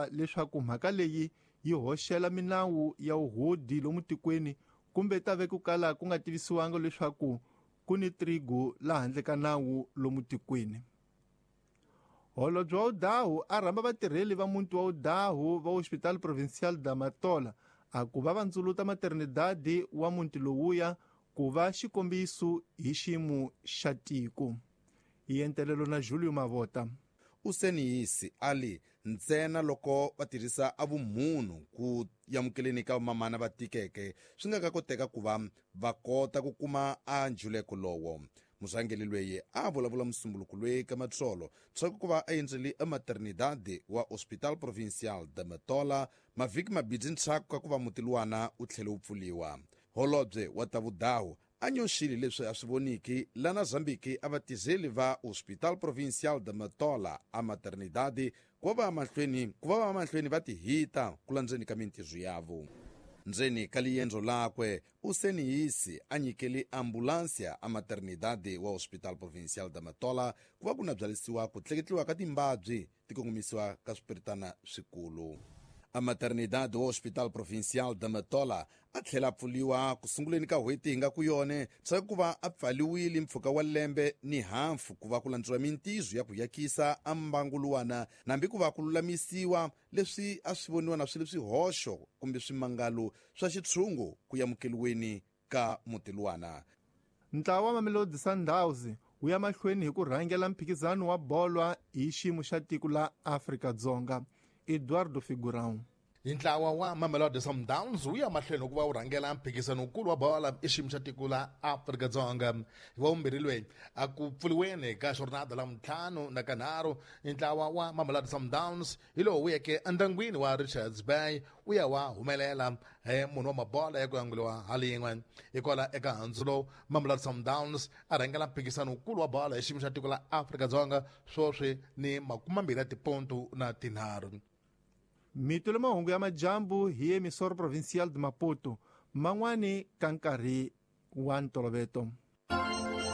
Leswaku mhaka leyi yi hoxela minawu ya wuhodi lomu tikweni kumbe ta ve ku kala ku nga tivisiwanga leswaku ku ni trigo la handle ka nawu lomu tikweni. Holobye wa Udahu a rhamba vatirheli va muti wa Udahu va Hospital Provincial da Matola a ku va vandzuluta maternidade wa muti lowuya ku va xikombiso hi xiyimo xa tiko. Hi entelelo na Julio Mavota. Useniyisi ali ntsena loko va tirhisa a vumunhu ku yamukeleni ka vamamana va tikeke swi nga ka koteka ku va va kota ku kuma a njuleko lowo. Murhangeri loyi a vulavula musumbuluko loyi ka matsolo tshaku ku va a endzeli ematernidade wa Hospital Provincial de Matola mavhiki mabidzi ntshaku ka ku va muti luwana wu tlhele wu pfuliwa. Holobye wa ta vudahu a nyoxile leswi a swi voniki lana Zambiki a vatizeli va Hospital Provincial de Matola a maternidade ku va mahlweni va tihita ku landzeni ka mintirho yavo. Ndzeni ka liendzo lakwe Useniyisi a nyikeli ambulansia a maternidade wa Hospital Provincial de Matola ku va ku na byalisiwa ku tleketliwa ka timbabyi ti kongomisiwa ka swipiritana swikulu. A maternidade wa Hospital Provincial de Matola a tlhela a pfuliwa ku sunguleni ka n'hweti hi nga ku yone swa ku va a pfaliwile mpfhuka wa lembe ni hafu ku va ku landziwa mintizo ya ku yakisa a mbangu luwana nambi ku va ku lulamisiwa leswi a swi voniwa na swi ri swihoxo kumbe swimangalo swa xitshungu ku yamukeliweni ka muti luwana. Ntlawa wa Mamelodi Sundowns wu ya mahlweni hi ku rhangela mphikizano wa bolo hi xiyimo xa tiko la Afrika-Dzonga. Eduardo Figurão. Ntlawa wa Mamelodi Sundowns wu ya mahlweni ku va wu rhangela mphikizano wukulu wa bola i xiyimo xa tiko la Afrika-Dzonga. Hi wa vumbirhi loyi a ku pfuriweni ka jornada la ntlhanu na kanharhu, ntlawa wa Mamelodi Sundowns hi lowu wu yeke endyangwini wa Richards Bay wu ya wa humelela hi munhu wa mabola ya ku yanguliwa halin'we. Hikwala eka handzu lowu Mamelodi Sundowns a rhangela mphikizano wukulu wa bola hi xiyimo xa tiko la Afrika-Dzonga swoswi ni 20 ya tipontu na tinharhu. Mito le mahungu ya majambu hi emisoro provincial de Maputo man'wani ka nkarhi wa ntoloveto.